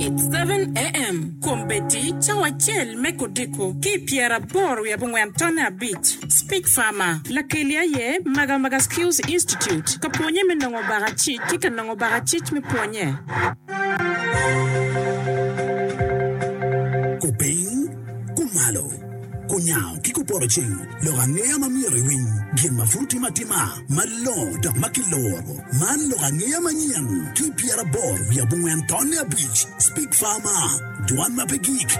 It's 7am, Kombeddi cawa acel me kodiko ki i pyeraboro wiye abongwen tonne abic. Speech Farmer, Lakeli aye Magamaga Skills Institute ka pwonye me nongo bakacic ki ka nongo bakacic me pwonye. Kupiny, kumalo, kunyango ki kupoto ceng, lok angeya ma myero iwiny, gin ma pud timo atima, malongo dok ma kiloro. Man lok angeya manyen ki pyeraboro wiye abongwen tonne abic, Speak Farmer, Dwan ma pe gik.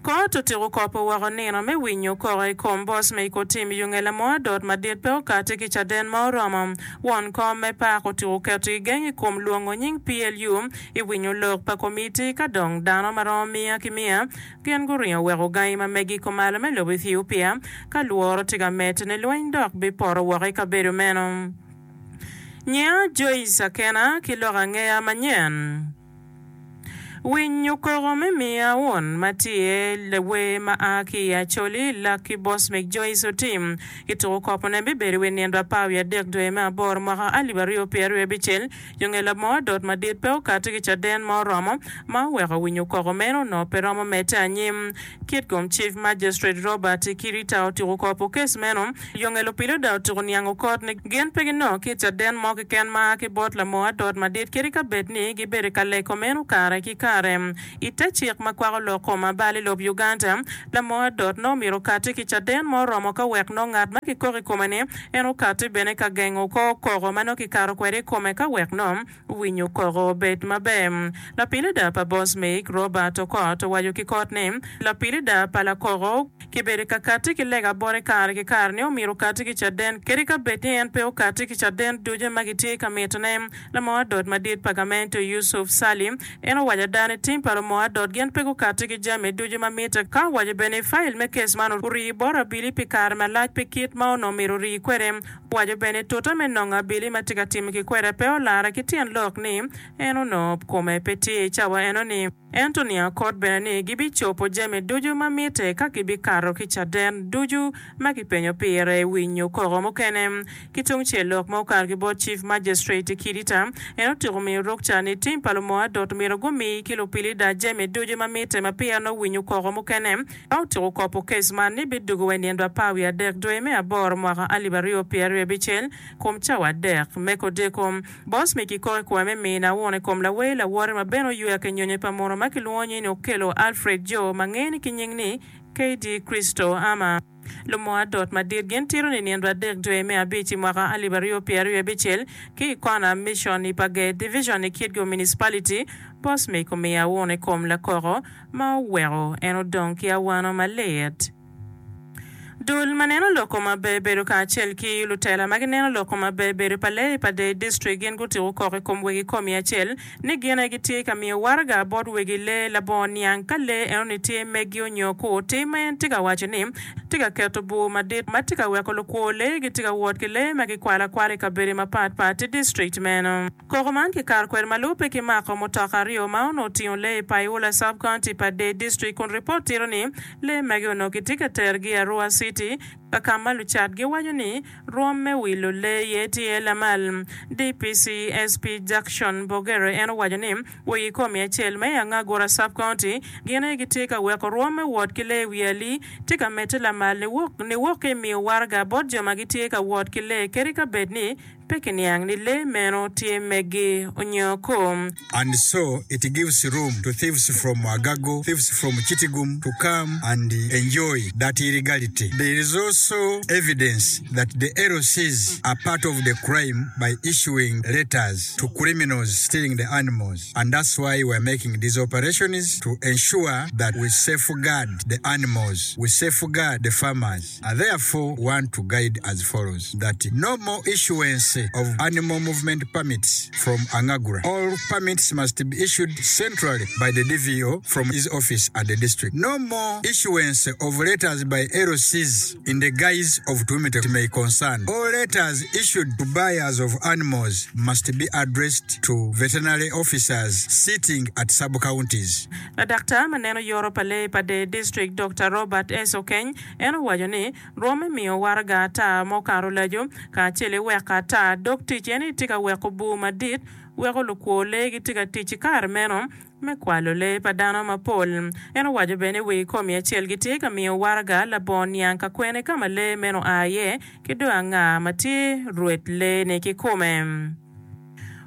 Kot otyeko kopo woko nino me winyo koko i kom Bosmic otim yunge lamor adot madit pe okati ki caden ma oromo. Won kom me pak otyeko keto gigeng i kom lwongo nying PLU i winyo lok pa komiti ka dong dano ma romo miya ki miya gin guringo weko gangi ma megi kumalo me lobo Ethiopia ka lworo tye ka medde ni lweny dok bipoto woko i kabedo meno. Nyinga Joyce Akena ki lok angeya manyen. Winyo koko me miya wun ma tye lawer ma a ki i Acholi, Lucky Bosmic Joyce Otim. Kituko kopone bibedo i wi nindo apar wiye adek dwe me aboro mwaka alip aryo pyeraryo abicel. Yo nge labongo adot madit pe okati ki caden ma oromo ma oweko winyo koko meno onongo pe romo medde anyim. Kitgum Chief Magistrate Robert Kirita otuko kopo kes meno. Yo nge lupiloda otuko niango kot ni gin pe ginongo ki caden mo keken ma a ki bot lamoo adot madit kadi ka bed ni gibedo ka leko meno kare ki kare. I te cik ma kwako lok kom abal i lob Uganda, lamoo adot nongo myero okati ki caden ma oromo ka wek nongo ngat ma kikoko i kome ni en okati bene ka gengo kor koko ma nongo kikato kwede i kome ka wek nongo winyo koko obed maber. Lapilida pa Bosmic, Robert Okot owaco ki kot ni, Lapilida pa lakoko kibedo ka kati ki lega bote kare ki kare ni omyero okati ki caden kadi ka bed ni en pe okati ki caden ducu ma gitye ka mitone. Lamor adot madit pa gamente Yusuf Sali en owaco ada ni tim pa lumor adot gin pe gukati ki jami ducu ma mitte ka owaco bene ni fail me kes man orii bot abili pi kare malac pi kit ma onongo myero orii kwede. Owaco bene ni tute me nongo abili ma tye ka timo ki kwede pe olare ki tyen lok ni en onongo kome pe tye i cawa eno-ni. Ento niang kot bene ni gibicobo jami ducu ma mitte ka gibikato ki caden ducu ma kipenyo pire i winyo koko mukene. Ki tungcel, lok ma okato ki bot Chief Magistrate Kidita, en otyeko miyo rukca ni tim pa lumoo adot myero gumi ki lupilida jami ducu ma mitte ma peya nongo winyo koko mukene. Ka otyeko kopo kes man ni bidwogo wa i nindo apar wiye adek dwe me aboro mwaka alip aryo pyeraryo abicel kom cawa adek me kodeko. Bosmic kikok i kome me mine awun i kom lawer lawote ma bene oywek i nyonyo pa muno ma kilwongo nying ni Okello Alfred Joe ma ngene ki nying ni KD Kristo Ama. Lumoo adot madit gin tito ni nindo adek dwe me abic i mwaka alip aryo pyeraryo abicel ki i kona Mission i Pager Division i Kitgum Municipality, Bosmic omiyo awun i kom lakoko ma oweko en odong ki awano malit. Dul ma neno loko maber bedo kacel ki lutela ma gineno loko maber bedo pa lee i Padee District gin gutiko kok i kom wegi komi acel ni gin aye gitye ka miyo waraga bot wegi lee labongo niang ka lee enoni tye megi onyo kur. Tim ma en tye ka waco ni tye ka keto bur madit ma tye ka weko lukwo lee gitye ka wot ki lee ma gikwalo akwala i kabedo mapat pat i district meno. Koko man kikato kwede ma lubbe ki mako mutoka aryo ma onongo otingo lee i Paiula Sub-County pa Dei District kun ripot tito ni lee magi onongo kitye ka terogi i Arua City ka ka ma lucat giwaco ni rwom me wilo lee iye tye lamal. DPC SP Jackson Bogere en owaco ni wegi komi acel ma i Angagura Sub-County gin aye gitye ka weko rwom me wot ki lee i wi alii tye ka medde lamal niwok ki i miyo waraga bot jo ma gitye ka wot ki lee kadi ka bed ni Pe kiniang ni lee meno tye megi onyo kom. And so it gives room to thieves from Agago, thieves from Kitgum to come and enjoy that illegality. There is also evidence that the LCs are part of the crime by issuing letters to criminals stealing the animals and that's why we are making these operations to ensure that we safeguard the animals, we safeguard the farmers. I therefore want to guide as follows that no more issuance of animal movement permits from Angagra. All permits must be issued centrally by the DVO from his office at the district. No more issuance of letters by LCs in the. the guise of to whom it may concern. All letters issued to buyers of animals must be addressed to veterinary officers sitting at sub-counties. Ladaktar ma neno yoro pa lee pa Dee District, Dokta Robert S. Okeny, en owaco ni, Rwom me miyo waraga ata ma okato olaco kacel i weko ata dog tic en aye tye ka weko bur madit weko lukwo lee gitye ka tic i kare meno me kwalo lee pa dano mapol. En owaco bene ni wi komi acel gitye ka miyo waraga labongo niang ka kwene ka ma lee meno oa iye ki dong anga ma tye rwed lee-ni kikome.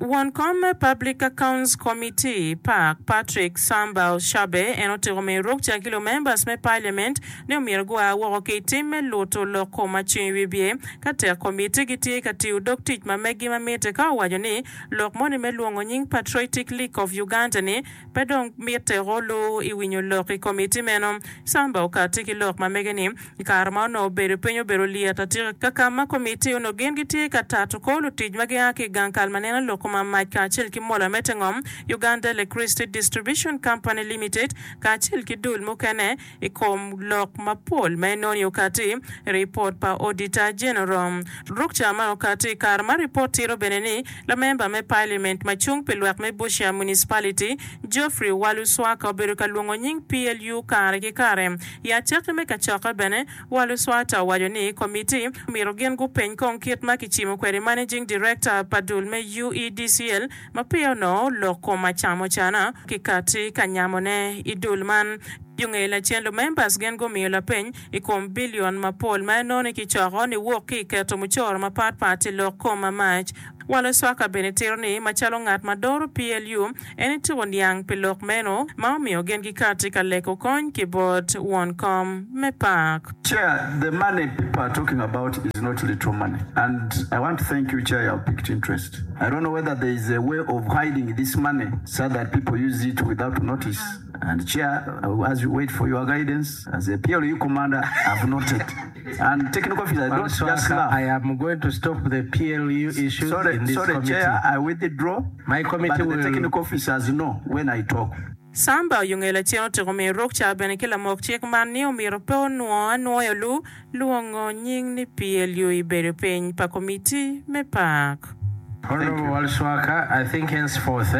Won kom me Public Accounts Committee, pac, Patrick Samba Oshabe en otiko miyo rukca ki lumembers me Parliament ni omyero gua woko ki i tim me luto lok kom acing i wibye ka tek komitti gitye ka tiyo dog tic ma meggi ma mitte ka owaco ni lok moni me lwongo nying Patriotic League of Uganda ni pe dong mitte olu i winyo lok i komitti meno. Samba okatti ki lok ma mege ni I kare ma onongo obedo piny obedo lyet atika ka ka ma komitti onongo gin gitye ka tato kor lutic ma gia ki i gang kal ma neno lok kom mac kacel ki mola me te ngom, Uganda Electricity Distribution Company Limited, kacel ki dul mukene i kom lok mapol ma enoni okati i ripot pa Auditor General. Rukca man okati i kare ma ripot tito bene ni lamemba me Parliament ma cung pi lwak me Busia Municipality, Geoffrey Waluswaka obedo ka lwongo nying PLU kare ki kare. I acakki me kacokke bene, Waluswata owaco ni komitti myero gin gupeny kong kit ma kicimo kwede Managing Director pa dul me UEDCL ma peya onongo lok kom acamocana kikati ka nyamone i dul man. Yo nge lacen lumembers gin gumiyo lapeny i kom billion mapol ma enongo ni kicoko niwok ki i keto mucoro mapat pat i lok kom ma mac. Waluswaka bene tito ni macalo ngat ma doro PLU, En ityeko niang pi lok meno ma omiyo gin gikatti ka leko kony ki bot won kom me pak. Chair, the money people are talking about is not little money and I want to thank you Chair you have picked interest. I don't know whether there is a way of hiding this money so that people use it without notice and Chair as we wait for your guidance as a PLU commander I have noted and technical officer don't just Waluswaka, laugh. I am going to stop the PLU issues Sorry, in this sorry committee. Chair, I withdraw. My committee But the will. technical officers know when I talk. Samba oyunge lacen otiko miyo rukca bene ki lamok cik man ni omyero pe onwo anwoyo lu lwongo nying ni PLU i bedo piny pa komiti me pak. Honourable Waluswaka, I think henceforth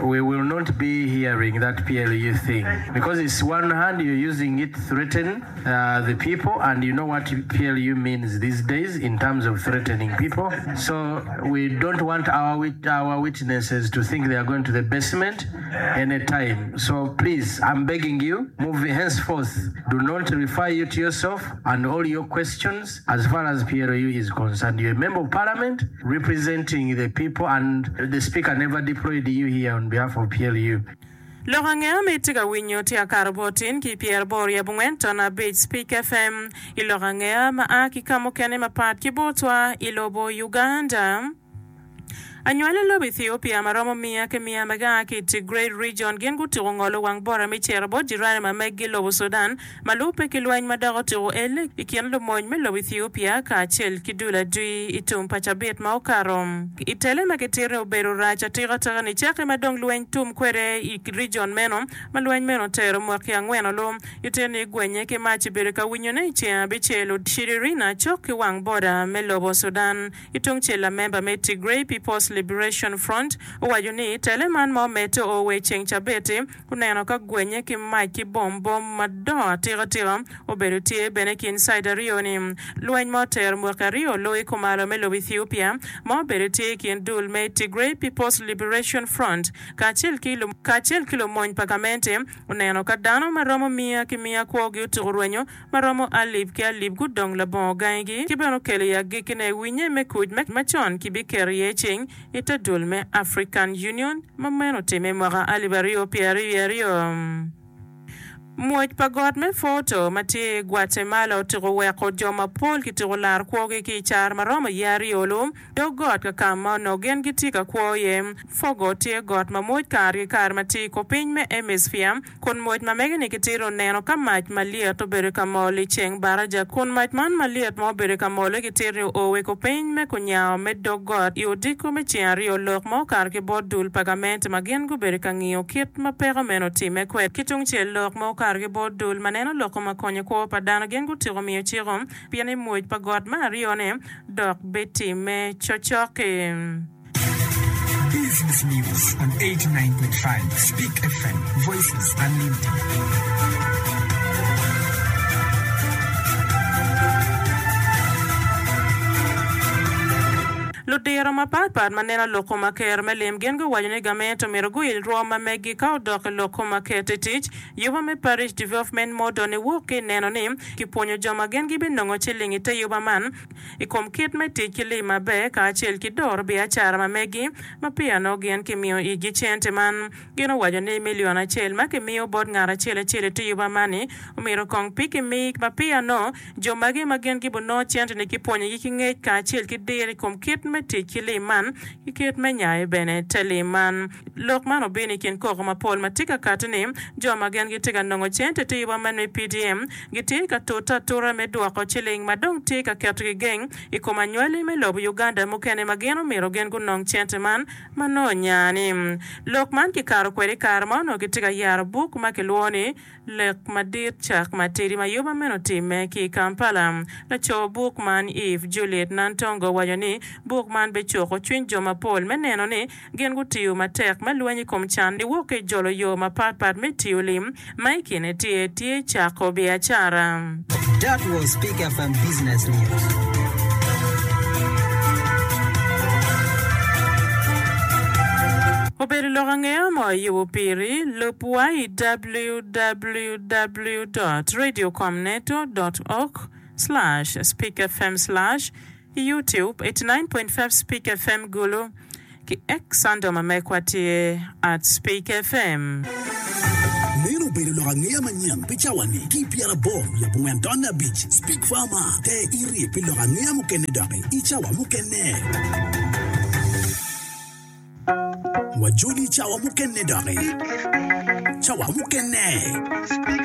we will not be hearing that PLU thing because it's one hand you're using it threaten the people and you know what PLU means these days in terms of threatening people so we don't want our our witnesses to think they are going to the basement any time so please I'm begging you move henceforth do not refer you to yourself and all your questions as far as PLU is concerned you're a member of parliament representing the people and the speaker never deployed you here on behalf of PLU. Lok angeya ma itye ka winyo tye akato bot tin ki pyeraboro i abongwen ton abic Speak FM i lok angeya ma a ki ka mukene mapat ki botwa i lobo Uganda. Anywali lobo Ethiopia ma romo miya ki miya ma gia ki i Tigray Region gin gutuko ngolo wang bota me cito bot jirani ma meggi lobo Sudan ma lubbe ki lweny ma dok otuko elle i kin lumony me lobo Ethiopia kacel ki dul adwi i tum pa cabit ma okato. I tele ma kitito ni obedo rac atika tika nicakke ma dong lweny tum kwede i rijon meno ma lweny meno otero mwaki angwen olu. Gitito ni gwenye ki mac obedo ka winyone i ceng abicel Shiririna cok ki wang boda me lobo Sudan. Ki tungcel lamemba me Tigray People's Liberation Front owaco ni tele man ma omedde oo wa i ceng cabit-ti Guneno ka gwenye ki mac ki bom bom madongo atika tika obedo tye bene i kin cite aryo-ni. Lweny ma otero mwaki aryo oloyo i kumalo me lobo Ethiopia ma obedo tye i kin dul me Tigray People's Liberation Front kacel ki kacel ki lumony pa gamente oneno ka dano ma romo miya ki miya kwogi otuko rwenyo ma romo alip ki alip gudong labongo gangigi ki bene okelo i agikkine winye me kuc macon kibiketo iye cing i te dul me African Union ma meno otimme i mwaka 2022. Mwoc pa got me Foto ma tye i Guatemala otyeko weko jo mapol kityeko laro kwogi ki i caro ma romo yeya aryo-lu. Dog got ka ka ma onongo gin gitye ka kwo iye. Fogo tye got ma mwoc kare ki kare ma tye i kor piny me hemisphere, kun mwoc ma mege-ni kitito neno ka mac malyet obedo ka mol i ceng baraja, kun mac man malyet ma obedo ka mol-li kitito ni oo i kor piny me kunyango me dog got i odiko me ceng aryo lok ma okato ki bot dul pa gamente ma gin gubedo ka ngiyo kit ma peko meno otimme kwede. Ki tungcel lok ma okato. kikarogi bot dul ma neno loko ma konyo kwo pa dano gin gutyeko miyo ciko pien ni mwoc pa got me aryone dok bitimme cocok-ki. Business News on 89.5 Speak FM, Voices Unlimited. Ludiro mapatpat ma neno lok kom aker me lim gin guwaco ni gamente omyero guil rwom ma meggi ka odok i lok kom aker te tic. Yuba me Parish Development Model ni wok ki i neno ni kipwonyo jo ma gin gibinongo ciling i te yuba man i kom kit me tic ki lim maber kacel ki doro biacara ma megi ma peya nongo gin kimiyo itgi cente man. Gin owaco ni milion acel ma kimiyo bot ngat acel acel i te yuba man-ni omyero kong pe kimi ma peya nongo jo magi ma gin gibinongo cente-ni kipwonyogi ki ngec kacel ki diro i kom kit me tic ki lim man ki kit me nyayo bene te lim man. Lok man obino i kin koko mapol ma tye ka kati ni jo ma gin gitye ka nongo cente i te yuba man me PDM gitye ka tute atura me dwoko ciling ma dong tye ka keto kigeng i kom anywali me lobo Uganda mukene ma gin omyero gin gunong cente man ma nongo onya-ni. Lok man kikato kwede i kare ma onongo kitye ka yaro buk ma kilwongo ni Lek Madit Cak Matidi ma yuba meno otimme ki i Kampala. Laco buk man Eve Juliet Nantongo owaco ni buk man bicuko cwiny jo mapol me neno ni gin gutiyo matek me lweny i kom can niwok ki i jolo yo mapatpat me tiyo lim ma i kine tye tye cako biacara. That was Pick FM Business News. Obedo lok angeya mo ayubo piri, lub wa i www dot radiocomneto dot org slash speakfm slash I YouTube, 89.5 Speak FM Gulu, ki X handle ma mekwa tye at Speak FM. Meno obedo lok angeya manyen pi cawa-ni ki i pyeraboro wiye abongwen tonne abic. Speak Farmer, Ter iri pi lok angeya mukene doki i cawa mukene. Wajoli i cawa mukene doki. Cawa mukene.